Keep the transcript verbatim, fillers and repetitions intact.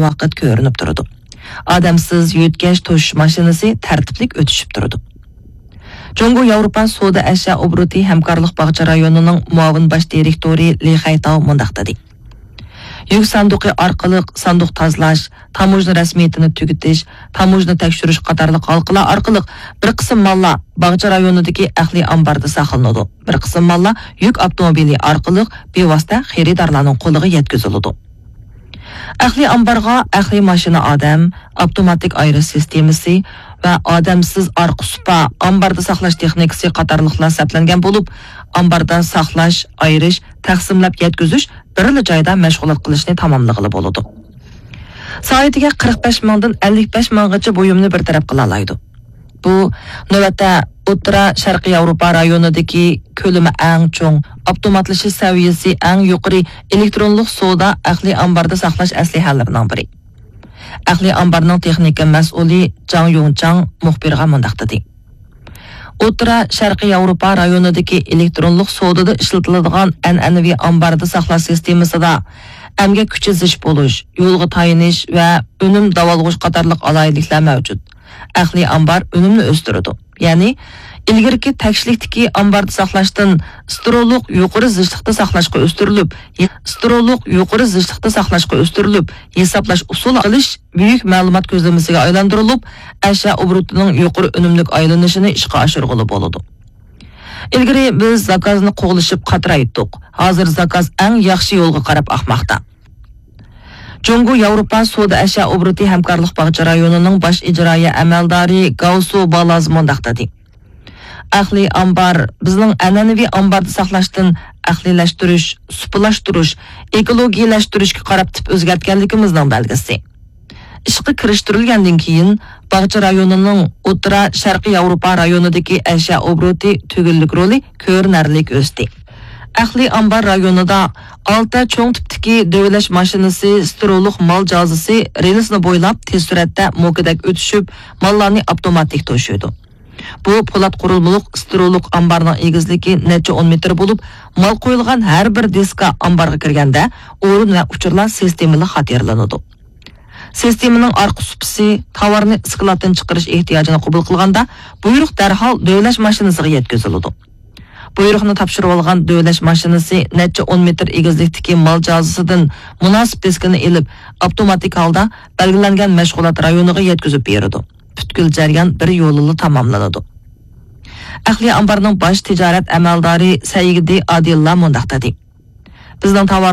ۋاقىت كۆرۈنۈپ تۇرىدۇ. ئادەمسىز يۆتكەش توشۇش ماشىنىسى تەرتىپلىك ئۆتۈشۈپ تۇرىدۇ. جۇڭگو ياۋروپا سودا ئەشيا ئوبوروتى ھەمكارلىق باغچە رايونىنىڭ مۇئاۋىن باش دىرېكتورى لى خەيتاۋ مۇنداق دېدى: يۈك ساندۇقى ئارقىلىق ساندۇق تازىلاش، تاموژنا رەسمىيىتىنى تۈگىتىش، تاموژنا تەكشۈرۈش قاتارلىق ھالقىلار ئارقىلىق بىر قىسىم ماللار باغچە رايونىدىكى ئەقلىي ئامباردا ساقلىنىدۇ، بىر قىسىم ماللار يۈك ئاپتوموبىلى ئارقىلىق بىۋاسىتە خېرىدارلارنىڭ قولىغا يەتكۈزۈلىدۇ. ئەقلىي ئامبارغا ئەقلىي ماشىنا ئادەم، ئاپتوماتىك ئايرىش سىستېمىسى ۋە ئادەمسىز ئارقا سۇپا، ئامباردا ساقلاش تېخنىكىسى قاتارلىقلار سەپلەنگەن بولۇپ، ئامباردا ساقلاش، ئايرىش، تەقسىملەپ يەتكۈزۈش بىرلا جايدا مەشغۇلات قىلىشنى تاماملىغىلى بولىدۇ. سائىتىگە قىرىق بەش مىڭدىن ئەللىك بەش مىڭغىچە بۇيۇمنى بىر تەرەپ قىلالايدۇ. بۇ، نۆۋەتتە، ئوتتۇرا شەرقىي ياۋروپا رايونىدىكى كۆلىمى ئەڭ چوڭ، ئاپتوماتلىشىش سەۋىيەسى ئەڭ يۇقىرى ئېلېكترونلۇق سودا ئەقلىي ئامباردا ساقلاش ئەسلىھەلىرىنىڭ بىرى. ئەقلىي ئامبارنىڭ تېخنىكا مەسئۇلى جاڭ يۇڭچاڭ مۇخبىرغا مۇنداق دېدى: ئوتتۇرا شەرقىي ياۋروپا رايونىدىكى ئېلېكترونلۇق سودىدا ئىشلىتىلىدىغان ئەنئەنىۋى ئامباردا ساقلاش سىستېمىسىدا ئەمگەك كۈچى زىچ بولۇش، يولغا تايىنىش ۋە ئۈنۈم داۋالغۇش قاتارلىق ئالاھىدىلىكلەر مەۋجۇت. ئەقلىي ئامبار ئۈنۈمنى ئۆستۈرىدۇ. يەنى، ئىلگىرىكى تەكشىلىكتىكى ئامباردا ساقلاشتىن سترولۇق يۇقىرى زىچلىقتا ساقلاشقا ئۆستۈرۈلۈپ، سترولۇق يۇقىرى زىچلىقتا ساقلاشقا ئۆستۈرۈلۈپ، ھېسابلاش ئۇسۇلى قىلىش بۈيۈك مەلۇمات كۆزلىمىسىگە ئايلاندۇرۇلۇپ، ئەشيا ئوبوروتىنىڭ يۇقىرى ئۈنۈملۈك ئايلىنىشىنى ئىشقا ئاشۇرغىلى بولىدۇ. ئىلگىرى بىز زاكازنى قوغلىشىپ قاترايتتۇق. ھازىر زاكاز ئەڭ ياخشى يولغا قاراپ ئاقماقتا. جۇڭگو ياۋروپا سودا ئەشيا ئوبوروتى ھەمكارلىق باغچە رايونىنىڭ باش ئىجرائىيە ئەمەلدارى گاۋسۇ بالاز مۇنداق دېدى: ئەقلىي ئامبار بىزنىڭ ئەنئەنىۋى ئامباردا ساقلاشتىن ئەقلىيلەشتۈرۈش، سۇپىلاشتۇرۇش، ئېكولوگىيەلەشتۈرۈشكە قاراپ تىپ ئۆزگەرتكەنلىكىمىزنىڭ بەلگىسى. ئىشقا كىرىشتۈرۈلگەندىن كېيىن، باغچە رايونىنىڭ ئوتتۇرا شەرقىي ياۋروپا رايونىدىكى ئەشيا ئوبوروتى تۈگۈنلۈك رولى كۆرۈنەرلىك ئۆستى. ئەقلىي ئامبار رايونىدا ئالتە چوڭ تىپتىكى دۆۋىلەش ماشىنىسى، سترولۇق مال جازىسى رېلىسنى بويلاپ تېز سۈرئەتتە موكىدەك ئۆتۈشۈپ، ماللارنى ئاپتوماتىك توشۇيدۇ. بۇ پولات قۇرۇلمىلىق سترولۇق ئامبارنىڭ ئېگىزلىكى نەچچە ئون مېتىر بولۇپ، مال قويۇلغان ھەر بىر دىسكا ئامبارغا كىرگەندە ئورۇن ۋە ئۇچۇرلار سىستېمىلىق خاتىرىلىنىدۇ. سىستېمىنىڭ ئارقا سۇپىسى تاۋارنى ئىسكىلاتتىن چىقىرىش ئېھتىياجىنى قوبۇل قىلغاندا، بۇيرۇق دەرھال دۆۋىلەش ماشىنىسىغا يەتكۈزۈلىدۇ. بۇيرۇقنى تاپشۇرۇۋالغان دۆۋىلەش ماشىنىسى نەچچە ئون مېتىر ئېگىزلىكتىكى مال جازىسىدىن مۇناسىپ دىسكىنى ئېلىپ، ئاپتوماتىك ھالدا بەلگىلەنگەن مەشغۇلات رايونىغا يەتكۈزۈپ بېرىدۇ. پۈتكۈل جەريان بىر يولىلا تاماملىنىدۇ. ئەقلىي ئامبارنىڭ باش تىجارەت ئەمەلدارى سەئىدى ئادىللا مۇنداق دېدى: بىزنىڭ تاۋار